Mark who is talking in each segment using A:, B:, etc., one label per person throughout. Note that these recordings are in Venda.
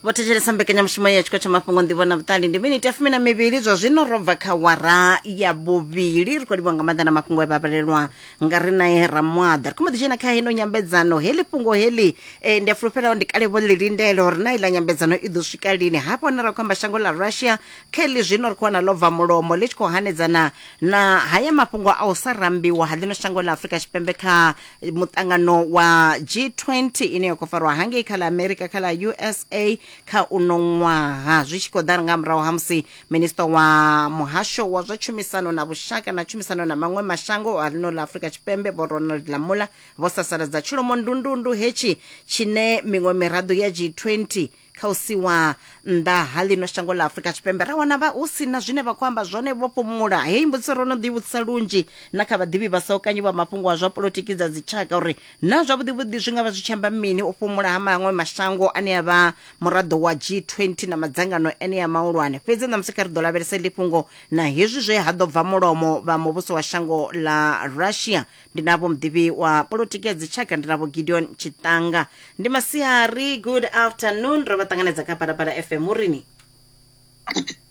A: Vho thetshelesa mbekanyamushumo ya tshiko tsha mafhungo nḓivho na vhuṱali. Ndi miniti ya 12 zwa zwino ro bva kha wara ya vhuvhili. Ri khou livhuwa nga maanḓa na mafhungo e vha vhalelwa nga ri nae Ramwaḓa. Ri khou mbo ḓi dzhena kha heno nyambedzano. Heḽi fhungo heḽi ndi a fulufhela ndi kale vho ḽi lindela uri na iḽa nyambedzano i ḓo swika lini. Hafha hune ra khou amba shango ḽa Russia kha heḽi zwino ri khou wana ḽo bva mulomo ḽi tshi khou hanedzana na haya mafhungo a u sa rambiwa ha ḽino shango ḽa Afrika Tshipembe kha muṱangano wa G20 ine ya khou farwa hangei kha ḽa Amerika kha ḽa USA kha uno ṅwaha, zwi tshi khou ḓa nga murahu ha musi minista wa muhasho wa zwa tshumisano na vhushaka na tshumisano na maṅwe mashango a ḽino ḽa Afrika Tshipembe Vho Ronald Lamola vho sasaladza tshilomo ndundundu hetshi tshine miṅwe miraḓo ya G20 Kha u siwa nnḓa ha ḽino shango ḽa Afrika Tshipembe ra wana vha hu si na zwine vha khou amba zwone vho fhumula. Heyi mbudziso ro no ḓi vhudzisa lunzhi na kha vhaḓivhi vha saukanyi vha mafhungo a zwa polotiki dza dzitshaka uri naa zwavhuḓivhuḓi zwi nga vha zwi tshi amba mini u fhumula ha maṅwe mashango ane a vha muraḓo wa G20 na madzangano enea mahulwane. Fhedzi ṋamusi kha ri ḓo lavhelesa heḽi fhungo na hezwi zwe ha ḓo bva mulomo vha muvhuso wa shango ḽa Russia. Ndi na vho muḓivhi wa polotiki ya dzitshaka, ndi na vho Gideon Tshiṱanga. Ndi masiari, good afternoon. Ro vha ṱanganedza kha Phalaphala FM. Urini?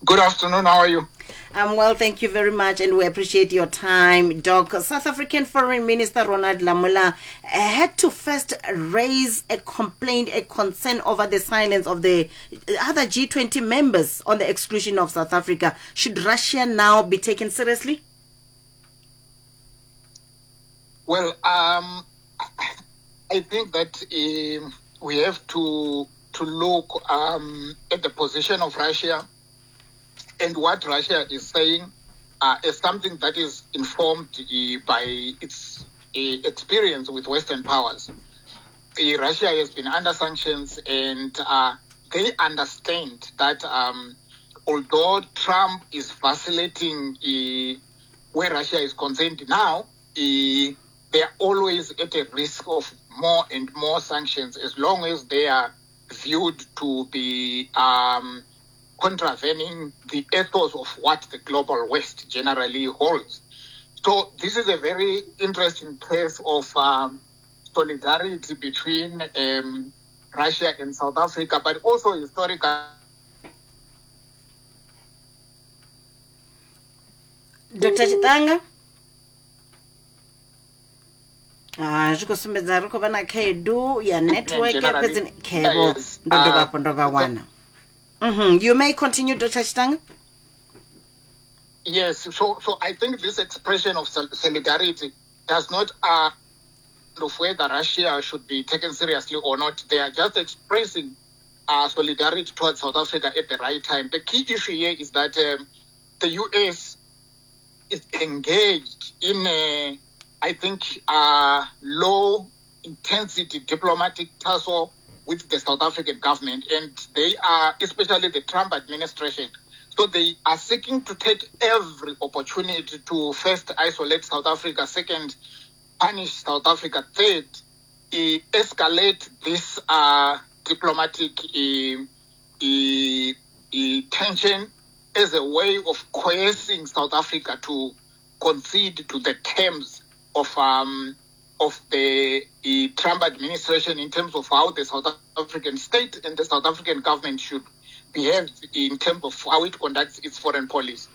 B: Good afternoon. How are you?
A: I'm well, thank you very much, and we appreciate your time, Doc. South African Foreign Minister Ronald Lamola had to first raise a complaint, a concern over the silence of the other G20 members on the exclusion of South Africa. Should Russia now be taken seriously?
B: Well, I think that we have to look at the position of Russia and what Russia is saying is something that is informed by its experience with Western powers. Russia has been under sanctions, and they understand that although Trump is vacillating where Russia is concerned now, they are always at a risk of more and more sanctions as long as they are viewed to be contravening the ethos of what the global West generally holds. So this is a very interesting case of solidarity between Russia and South Africa, but also historically.
A: Dr. Chitanga? Ah, zwi khou sumbedza ri khou vha na khaedu ya network fhedzi khevho ndo dovha hafhu ndo vha wana. You may continue, Dr. Chitanga.
B: Yes, so I think this expression of solidarity does not of whether Russia should be taken seriously or not. They are just expressing solidarity towards South Africa at the right time. The key issue here is that the US is engaged in a, I think, low-intensity diplomatic tussle with the South African government, and they are, especially the Trump administration. So they are seeking to take every opportunity to first isolate South Africa, second, punish South Africa, third, escalate this diplomatic tension as a way of coercing South Africa to concede to the terms of the Trump administration in terms of how the South African state and the South African government should behave in terms of how it conducts its foreign policy.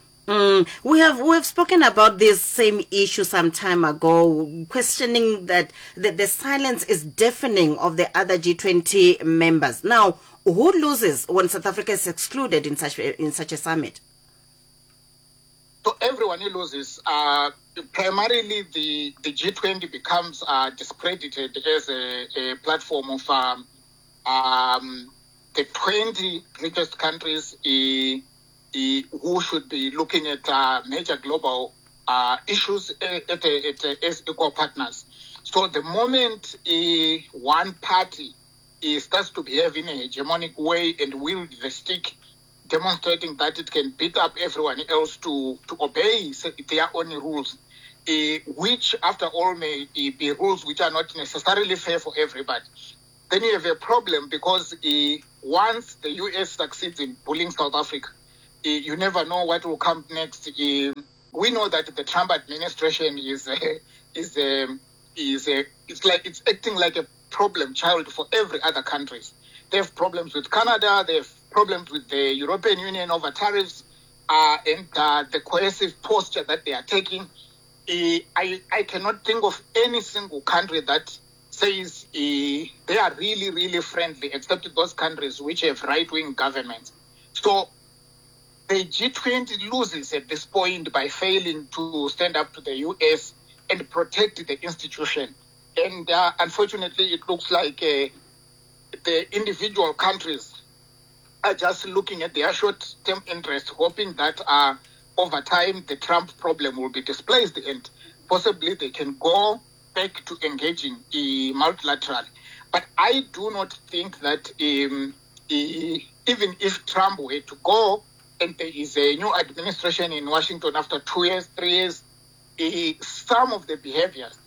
A: We have spoken about this same issue some time ago, questioning that the silence is deafening of the other G20 members. Now, who loses when South Africa is excluded in such a summit?
B: So everyone who loses. Primarily, the G20 becomes discredited as a platform of the 20 richest countries who should be looking at major global issues as equal partners. So the moment one party starts to behave in a hegemonic way and wield the stick, demonstrating that it can beat up everyone else to obey their own rules, which after all may be rules which are not necessarily fair for everybody, then you have a problem because once the US succeeds in bullying South Africa, you never know what will come next. We know that the Trump administration is it's acting like a problem child for every other countries. They have problems with Canada, they have problems with the European Union over tariffs, and the coercive posture that they are taking. I cannot think of any single country that says they are really, really friendly, except those countries which have right-wing governments. So the G20 loses at this point by failing to stand up to the US and protect the institution. And unfortunately, it looks like the individual countries are just looking at their short-term interests, hoping that over time the Trump problem will be displaced and possibly they can go back to engaging multilaterally. But I do not think that even if Trump were to go and there is a new administration in Washington after 2 years, 3 years, some of the behaviors,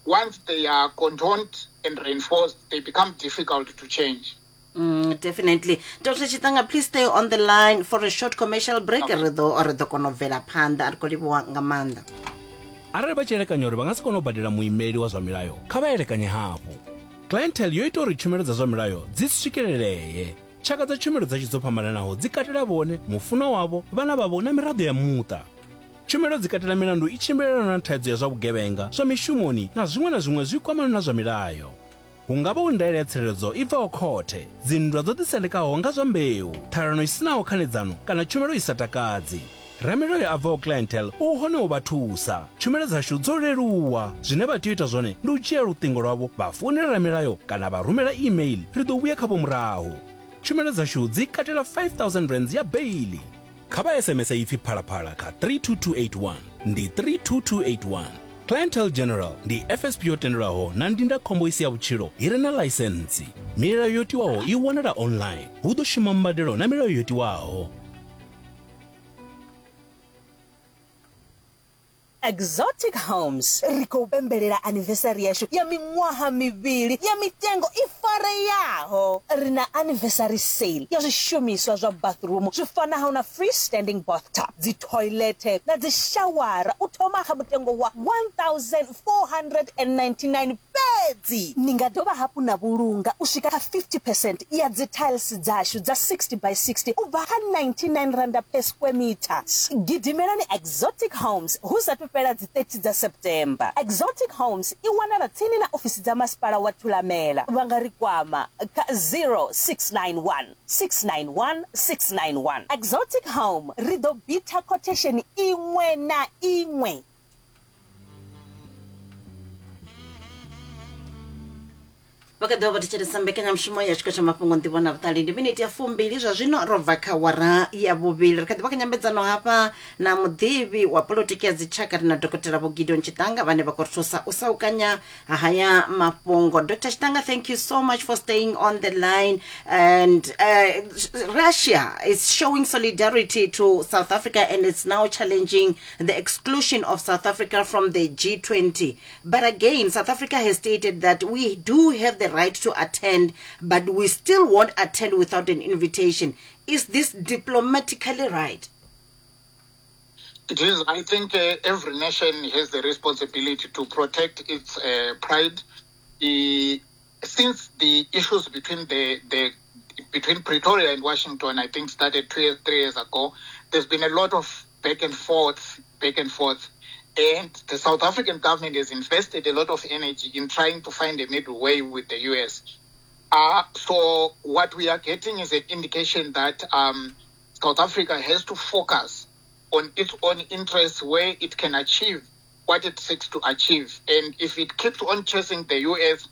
B: once they are condoned and reinforced, they become difficult to change.
A: Definitely. Dr. Chitanga, please stay on the line for a short commercial break. Ri ḓo kona u bvela phanḓa. Ri khou livhuwa nga maanḓa.
C: Arali vha tshi elekanya uri vha nga si kone u badela muimeli wa zwa milayo, kha vha elekanye hafhu. Clientele yo ita uri tshumelo dza zwa milayo dzi swikelelee. Tshaka dza tshumelo dzashu dzo fhambananaho dzi katela vhone, mufunwa wavho, vhana vhavho na miraḓo ya muṱa. Tshumelo dzi katela milandu i tshimbilelanaho na thaidzo ya zwa vhugevhenga, zwa mishumoni na zwiṅwe na zwiṅwe zwi kwamanaho na zwa milayo. Hu nga vha hu ndaela ya tsireledzo i bvaho khothe, dzinndwa dzo ḓisendekaho nga zwa mbeu, ṱhalano i si naho khanedzano kana tshumelo i sa takadzi. Ramilayo a bvaho Clientele u hone u vha thusa. Tshumelo dzashu dzo leluwa. Zwine vha tea u ita zwone ndi u dzhia luṱingo lwavho vha founela ramilayo kana vha rumela email, ri ḓo vhuya khavho murahu. Tshumelo dzashu dzi katela R5000 ya beiḽi. Kha vha SMS ipfi Phalaphala kha 32281. Ndi 32281. Clientele General ndi FSP yo tendelwaho na ndindakhombo i si ya vhutshilo i re na ḽaisentsi. Milayo yo tiwaho i wanala online. Hu ḓo shuma mbadelo na milayo yo tiwaho.
D: Exotic Homes. Ri khou pembelela anniversary yashu ya miṅwaha mivhili ya mitengo i fareaho. Ri na anniversary sale ya zwishumiswa zwa bathroom zwi fanaho na freestanding bathtub, dzi thoilethe na dzi shawara u thoma kha mutengo wa 1499 fhedzi. Ni nga dovha hafhu na vhulunga u swika kha 50 percent ya dzi tiles dzashu dza 60 by 60 u bva kha R99 per square meter. Gidimelani Exotic Homes hu sathu fhela dzi 30 dza September. Exotic Homes i wanala tsini na ofisi dza masipala wa Thulamela. Vha nga ri kwama kha 0691 691 691. Exotic Home, ri ḓo bitha khothesheni iṅwe na iṅwe.
A: Vha kha ḓivha vho thetshelesa mbekanyamushumo ya tshiko tsha mafhungo nḓivho na vhuṱali. Ndi miniti ya fumbili zwa zwino ro bva kha wara ya vhuvhili. Ri kha ḓivha kha nyambedzano hafha na muḓivhi wa polotiki ya dzitshaka, ri na Dokotela Vho Gideon Chitanga vhane vha khou ri thusa u saukanya haya mafhungo. Dr Chitanga, thank you so much for staying on the line. And Russia is showing solidarity to South Africa and it's now challenging the exclusion of South Africa from the G20. But again, South Africa has stated that we do have the right to attend, but we still won't attend without an invitation. Is this diplomatically right?
B: It is. I think every nation has the responsibility to protect its pride. Since the issues between the between Pretoria and Washington, I think started 2 years, 3 years ago, there's been a lot of back and forth, back and forth. And the South African government has invested a lot of energy in trying to find a middle way with the US. So what we are getting is an indication that South Africa has to focus on its own interests where it can achieve what it seeks to achieve. And if it keeps on chasing the US,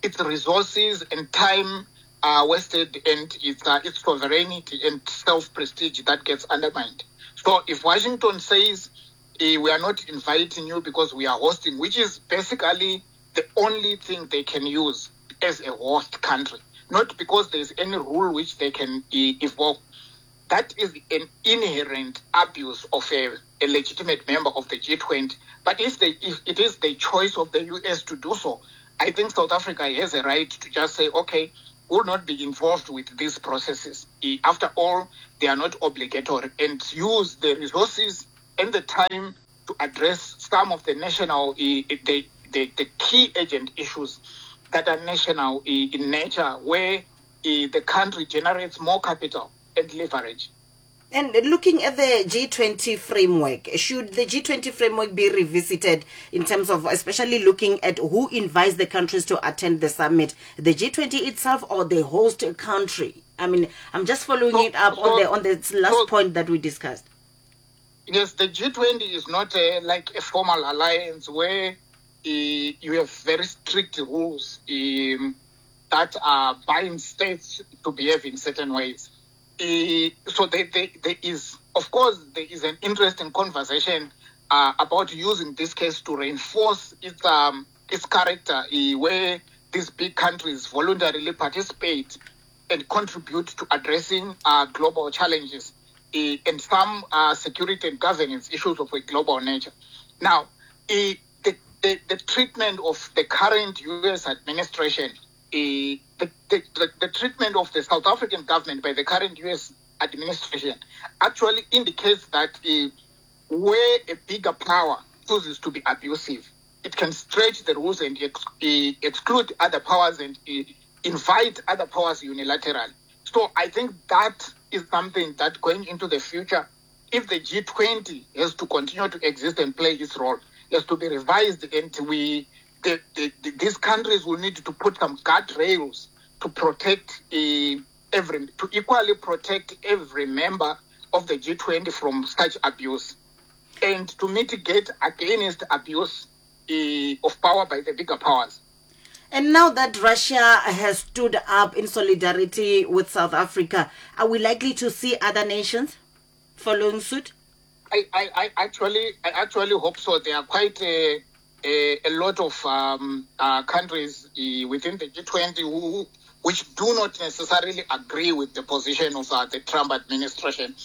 B: its resources and time are wasted, and its sovereignty and self-prestige that gets undermined. So if Washington says, we are not inviting you because we are hosting, which is basically the only thing they can use as a host country, not because there's any rule which they can evoke. That is an inherent abuse of a legitimate member of the G20. But if it is the choice of the US to do so, I think South Africa has a right to just say, okay, we'll not be involved with these processes. After all, they are not obligatory, and use the resources and the time to address some of the national, the key urgent issues. that are national in nature, where the country generates more capital and leverage.
A: And looking at the G20 framework, should the G20 framework be revisited in terms of especially looking at who invites the countries to attend the summit, the G20 itself or the host country? I mean, I'm just following so, it up so, on the on the last so, point that we discussed.
B: Yes, the G20 is not a, like a formal alliance where you have very strict rules um, that are bind states to behave in certain ways. Uh, so there, there, there is, of course, there is an interesting conversation uh, about using this case to reinforce its um, its character, uh, where these big countries voluntarily participate and contribute to addressing uh, global challenges uh, and some uh, security and governance issues of a global nature. Now, uh, the, the, the treatment of the current U.S. administration the, the, the, the treatment of the South African government by the current U.S. administration actually indicates that uh, where a bigger power chooses to be abusive, it can stretch the rules and ex- uh, exclude other powers and uh, invite other powers unilaterally. So I think that is something that going into the future, if the G20 has to continue to exist and play its role, has to be revised and we the, the, the, these countries will need to put some guardrails to protect uh, every, to equally protect every member of the G20 from such abuse and to mitigate against abuse uh, of power by the bigger powers.
A: And now that Russia has stood up in solidarity with South Africa, are we likely to see other nations following suit?
B: I, I, I actually I actually hope so. There are quite a, a, a lot of um, uh, countries uh, within the G20 who, which do not necessarily agree with the position of uh, the Trump administration.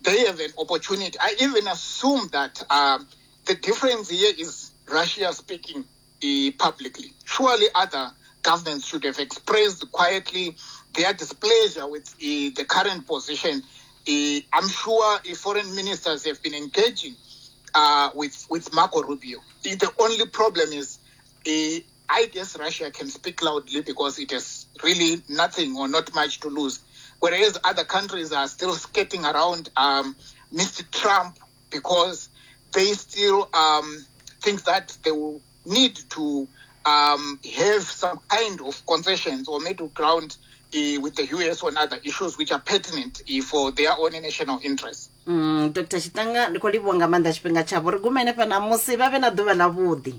B: They have an opportunity. I even assume that um, the difference here is Russia speaking uh, publicly. Surely other governments should have expressed quietly their displeasure with uh, the current position. Uh, I'm sure uh, foreign ministers have been engaging uh, with, with Marco Rubio. The, the only problem is, uh, I guess Russia can speak loudly because it has really nothing or not much to lose. Whereas other countries are still skating around um, Mr. Trump because they still um, think that they will need to um, have some kind of concessions or middle ground uh, with the US on other issues which are pertinent uh, for their own national interests.
A: Mm, Dr. Chitanga ndi khou livhuwa nga maanḓa tshifhinga tshavho ri gume henefha ṋamusi vha vhe na ḓuvha ḽavhuḓi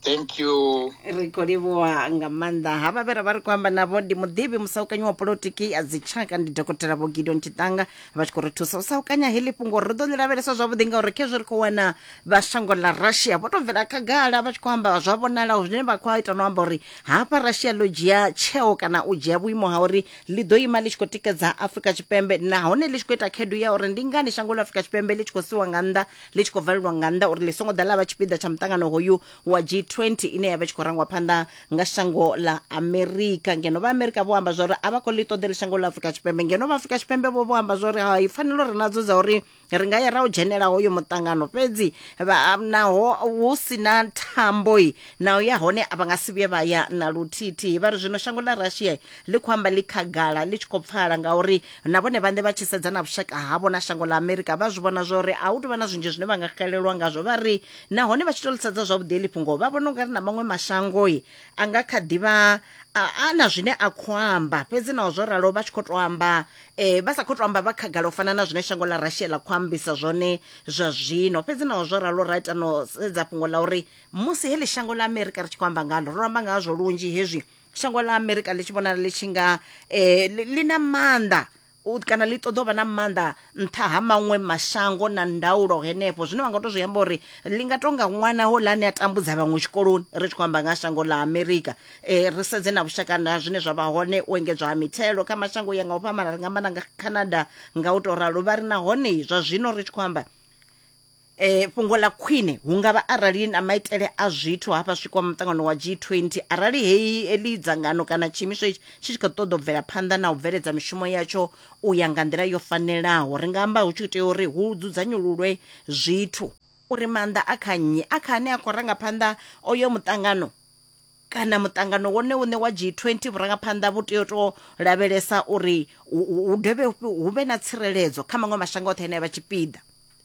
B: Thank you.
A: Ri khou livhuwa nga maanḓa havha vhe ra vha ri khou amba navho ndi muḓivhi musaukanyi wa polotiki ya dzitshaka ndi dokotela vho Gideon Chitanga vha tshi khou ri thusa u saukanya heḽi fhungo ri ḓo ḽi lavhelesa zwavhuḓi ngauri khezwi ri khou wana vha shango ḽa Russia vho tou bvela khagala vha tshi khou amba zwa vhonalaho zwine vha khou ita no amba uri hafha Russia ḽo dzhia tsheo kana u dzhia vhuimo ha uri ḽi ḓo ima ḽi tshi khou tikedza Afrika Tshipembe nahone ḽi tshi khou ita khaedu ya uri ndi ngani shango ḽa Afrika Tshipembe ḽi tshi khou siwa nga nnḓa ḽi tshi khou valelwa nga nnḓa uri ḽi songo ḓa ḽa vha tshipiḓa tsha muṱangano hoyu wa G20 ine ya vha tshi khou rangwa phanḓa nga shango ḽa Amerika ngeno vha Amerika vho amba zwori a vha khou ḽi ṱoḓela shango ḽa Afrika Tshipembe ngeno vha Afrika Tshipembe vho vho amba zwori hai pfanelo ri nadzo dza uri ri nga ya ra u dzhenela hoyo muṱangano fhedzi vha naho hu si na thamboi naho ya hone a vha nga si vhuye vha ya na luthithihi vha ri zwino shango ḽa Russia ḽi khou amba ḽi khagala ḽi tshi khou pfala ngauri na vhone vhaṋe vha tshi sedza na vhushaka havho na shango ḽa Amerika vha zwi vhona zwori a hu tou vha na zwinzhi zwine vha nga xelelwa ngazwo vha ri nahone vha tshi tou ḽi sedza zwavhuḓi heḽi fhungo vha vhona ungari na maṅwe mashangoi a nga kha ḓivha a na zwine a khou amba fhedzi naho zwo ralo vha tshi khou tou amba um vha sa khou tou amba vha khagala u fana na zwine shango ḽa Russia ḽa khou ambisa zwone zwa zwino fhedzi naho zwo ralo ra ita no sedza fhungo ḽa uri musi heḽi shango ḽa Amerika ri tshi khou amba ngalo ro amba ngazwo lunzhi hezwi shango ḽa Amerika ḽi tshi vhonala ḽi tshi nga um ḽi na maanḓa u kana ḽi ṱoḓa u vha na maanḓa nṱha ha maṅwe mashango na ndaulo henefho zwine vha nga to zwi amba uri ḽi nga tonga ṅwana houḽa ane a tambudza vhaṅwe tshikoloni ri tshi khou amba nga shango ḽa amerika um ri sedze na vhushaka na zwine zwa vha hone u engedzwa ha mithelo kha mashango ya nga u fhambana ri nga amba na nga canada nga u tou ralo vha ri nahone zwa zwino ri tshi khou amba E, fhungo ḽa khwine hu nga vha arali na maitele a zwithu hafha swikwa muṱangano wa G20 arali heyi heḽi dzangano kana tshiimiswa itshi tshi tshi khou ṱoḓa u bvela phanḓa na u bveledza mishumo yatsho u ya nga nḓila yo fanelaho ri nga amba hu tshi tea uri hu dzudzanyululwe zwithu uri maanḓa a kha nnyi a kha ane a khou ranga phanḓa oyo muṱangano. Kana muṱangano wone uṋe wa G20 vhurangaphanḓa vhu tea u tou lavhelesa uri hu dovhe hu vhe na tsireledzo kha maṅwe mashango oṱhe ane a vha tshipiḓa.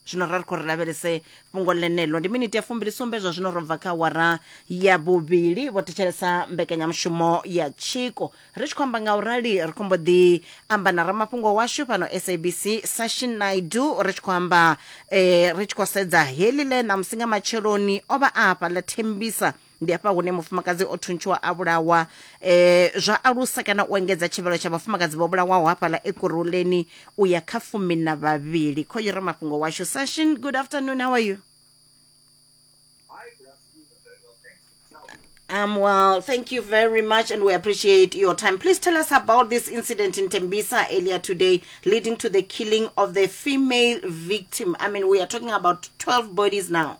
A: Zwino ra ri khou ri lavhelese fhungo ḽeneḽo. Ndi miniti ya fumbili sumbe zwa zwino ro bva kha awara ya vhuvhili. Vho thetshelesa mbekanyamushumo ya Tshiko. Ri tshi khou amba nga u rali ri khou mbo ḓi amba na ramafhungo washu fhano SABC Sashin Naidu, ri tshi khou amba ri tshi khou sedza heḽi ḽe ṋamusi nga matsheloni o vha a hafha ḽa Thembisa. Ndi hafha hune mufumakadzi o thuntshiwa a vhulawa, zwa alusa kana u engedza tshivhalo tsha vhafumakadzi vho vhulawaho hafhaḽa Ekurhuleni u ya kha 12. Khoyu ramafhungo washu Sashin, good afternoon, how are you? Well, thank you very much, and we appreciate your time. Please tell us about this incident in Tembisa earlier today, leading to the killing of the female victim. I mean, we are talking about 12 bodies now.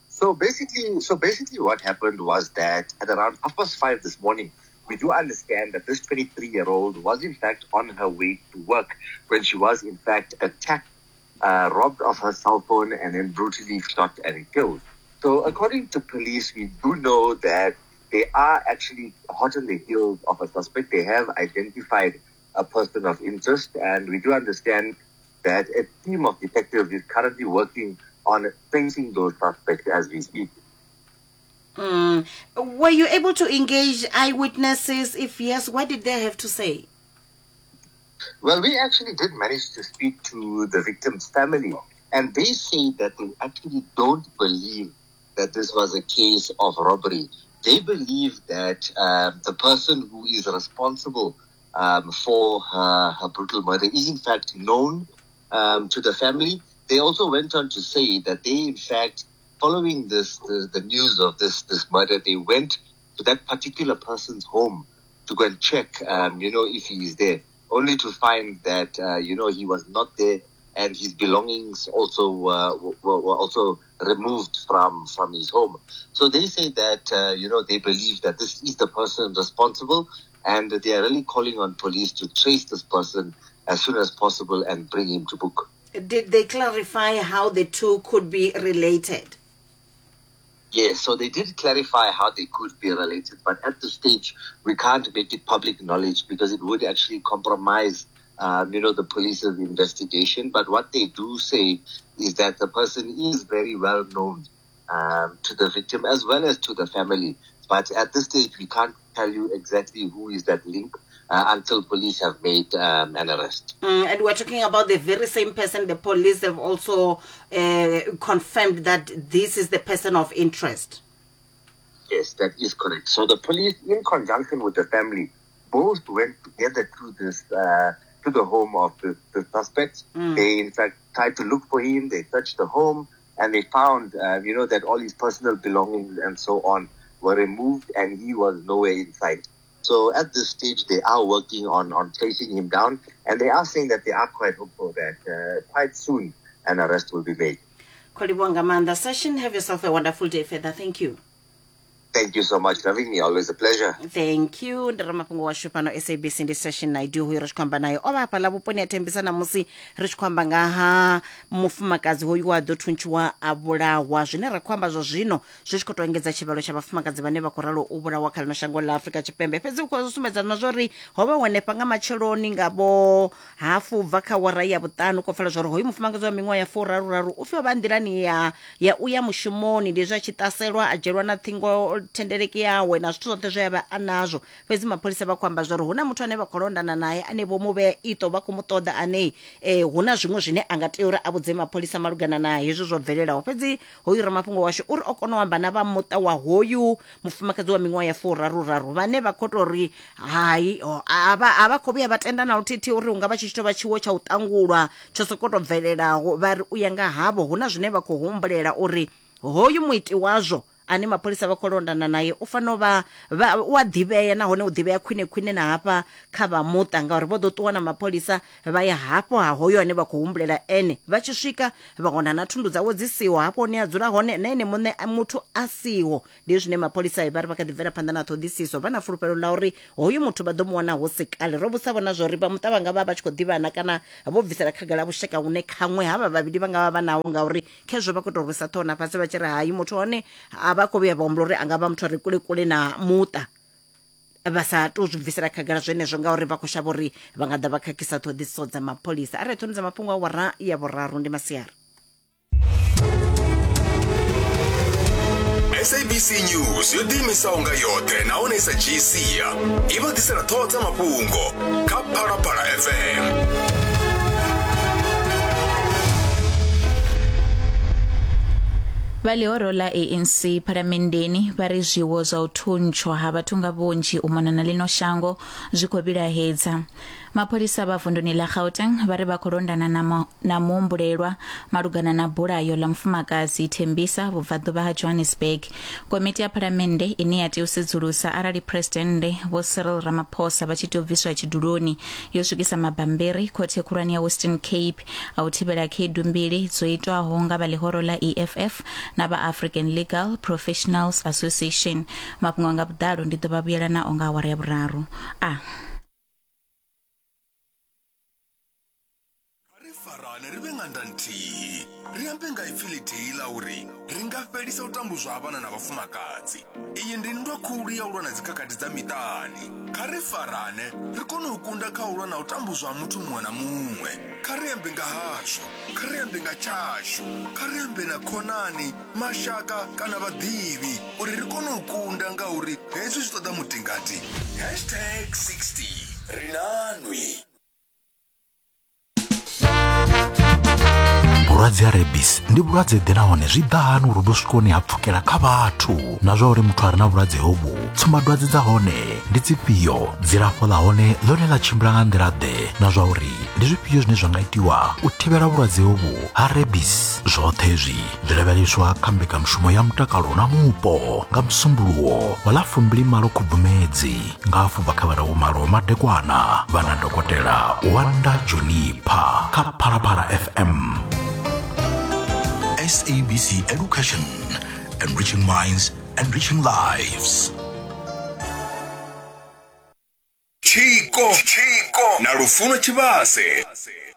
E: So basically what happened was that at around 5:30 this morning, we do understand that this 23-year-old was in fact on her way to work when she was in fact attacked, robbed of her cell phone, and then brutally shot and killed. So according to police, we do know that they are actually hot on the heels of a suspect. They have identified a person of interest, and we do understand that a team of detectives is currently working on tracing those suspects as we speak.
A: Were you able to engage eyewitnesses? If yes, what did they have to say?
E: Well, we actually did manage to speak to the victim's family, and they say that they actually don't believe that this was a case of robbery. They believe that the person who is responsible for her brutal murder is in fact known to the family. They also went on to say that they, in fact, following the news of this murder, they went to that particular person's home to go and check, if he is there, only to find that, he was not there, and his belongings also were also removed from his home. So they say that, they believe that this is the person responsible, and they are really calling on police to trace this person as soon as possible and bring him to book.
A: Did they clarify how the two could be related?
E: Yes, so they did clarify how they could be related, but at this stage, we can't make it public knowledge because it would actually compromise, the police's investigation. But what they do say is that the person is very well known to the victim as well as to the family. But at this stage, we can't tell you exactly who is that link until police have made an arrest.
A: And we're talking about the very same person. The police have also confirmed that this is the person of interest.
E: Yes, that is correct. So the police, in conjunction with the family, both went together to this to the home of the suspect. They, in fact, tried to look for him. They searched the home and they found, that all his personal belongings and so on were removed and he was nowhere in sight. So at this stage, they are working on tracing him down, and they are saying that they are quite hopeful that quite soon an arrest will be made.
A: Kholiwa nga maanḓa. Session, have yourself a wonderful day further. Thank you.
E: Thank you so much for having me. Always a pleasure.
A: Thank you. Ndi ramafhungo washu fhano SABC ndi Session Naidu hoyu ri tshi khou amba naye. O vha hafhaḽa vhuponi ha Thembisa ṋamusi ri tshi khou amba nga ha mufumakadzi hoyu wa ḓo thuntshiwa a vhulawa. Zwine ra khou amba zwa zwino zwi tshi khou tou engedza tshivhalo tsha vhafumakadzi vhane vha khou ralo u vhulawa kha ḽino shango ḽa Afrika Tshipembe. Fhedzi u khou sumbedza na zwa uri ho vha hanefha nga matsheloni nga vho hafu bva kha wara ya vhuṱanu khou pfala zwa uri hoyu mufumakadzi wa miṅwaha ya furaru-raru u pfi o vha nḓilani ya u ya mushumoni, ndi hezwi a tshi ṱaselwa a dzhielwa na ṱhingo thendeleki yawe na zwithu zwoṱhe zwe a vha a nazwo. Fhedzi mapholisa vha khou amba zwa uri hu na muthu ane vha khou londana naye ane vho mu vhea iṱo, vha khou mu ṱoḓa ane hu na zwiṅwe zwine a nga tea uri a vhudze mapholisa malugana na hezwi zwo bvelelaho. Fhedzi hoyu ramafhungo washu uri o kona u amba na vha muṱa wa hoyu mufumakadzi wa miṅwaha ya furaru-raru vhane vha khou tou ri hai, a vha khou vhuya vha tenda na luthihi uri hu nga vha tshi tshi tou vha tshiwo tsha u ṱangulwa tsho sokou tou bvelelaho. Vha ri u ya nga havho hu na zwine vha khou humbulela uri hoyu muiti wazwo ane mapholisa vha khou londana naye u fanela u vha u a ḓivhea, nahone u ḓivhea khwine khwine na hafha kha vha muṱa, ngauri vho ḓo ṱuwa na mapholisa vha ya hafho ha hoyo ane vha khou humbulela ene. Vha tshi swika vha wana na thundu dzawe dzi siho hafho hune a dzula hone, na ene muṋe muthu a siho. Ndi zwine mapholisa vha ri vha kha ḓi bvela phanḓa na ṱhoḓisiso, vha na fulufhelo ḽa uri hoyu muthu vha ḓo mu wana hu si kale. Ro vhusa vhona zwa uri vha muṱa vha nga vha vha tshi khou ḓivhana kana vho bvisela khagala vhushaka hune khaṅwe havha vhavhili vha nga vha vha naho, ngauri khezwo vha khou tou rwisa ṱhoho na fhasi vha tshi ri hai muthu hone a vha vha khou vhuya vha humbula uri a nga vha muthu a re kule kule na muṱa vha sa tou zwi bvisela khagala zwenezwo ngauri vha khou shavha uri vha nga ḓa vha khakhisa ṱhoḓisiso dza mapholisa. Arali ṱhoni dza mafhungo awara ya vhuraru ndi masiari.
F: SABC News yo ḓiimisaho nga yoṱhe nahone i sa dzhii sia i vha ḓisela ṱhoho dza mafhungo kha Phalaphala FM.
G: Vha ḽihoro ḽa ANC phalamenndeni vha ri zwiwo zwa u thuntshwa ha vhathu nga vhunzhi u mona na ḽino shango zwi khou vhilahedza. Mapholisa vha vunduni ḽa Gauteng vha ri vha khou londana na, na muhumbulelwa malugana na bulayo ḽa mufumakadzi Thembisa vhubvaḓuvha ha Johannesburg. Komiti ya phalamennde ine ya tea u sedzulusa arali Phresidennde Vho Cyril Ramaphosa vha tshi tea u bviswa tshiduloni yo swikisa mabambiri khothe khulwane ya Western Cape a u thivhela khaedu mbili dzo itwaho nga vha ḽihoro ḽa EFF na vha African Legal Professionals Association. Mafhungo nga vhuḓalo ndi ḓo vha vhuyela nao nga awara ya vhuraru. A.
F: Ri farane ri vhe ṅanda nthihi, ri ambe nga ipfi ḽithihi ḽa uri ri nga fhelisa u tambudzwa ha vhana na vhafumakadzi. Iyi ndi nndwa khulu ya u lwa na dzikhakhathi dza miṱani. Kha ri farane ri kone u kunda kha u lwa na u tambudzwa ha muthu muṅwe na muṅwe. Kha ri ambe nga hazwo, kha ri ambe nga tshashu, kha ri ambe na khonani, mashaka kana vhaḓivhi uri ri kone u kunda ngauri hezwi zwi ṱoḓa mutingati. Hashtag 60 Ri na nwi.
H: Vhulwadze ha rebis ndi vhulwadze ḓe nahone zwi ḓa hani uri vhu swike hune ha pfukela kha vhathu na zwa uri muthu a re na vhulwadze hovhu tsumbadwadze dza hone ndi dzifhio dzilafho ḽa hone ḽone ḽa tshimbila nga nḓila ḓe na zwa uri ndi zwifhio zwine zwa nga itiwa u thivhela vhulwadze hovhu ha rebis zwoṱhe hezwi zwi lavheleswa kha mbekanyamushumo ya mutakalo na mupo nga musumbuluwo wa ḽa 28 khubvumedzi nga hafhu bva kha vhara vhumalo madekwana vha na dokotela Wanda Juniper kha Phalaphala FM.
F: SABC Education, enriching minds, enriching lives. Tshiko na Lufuno Tshivhase.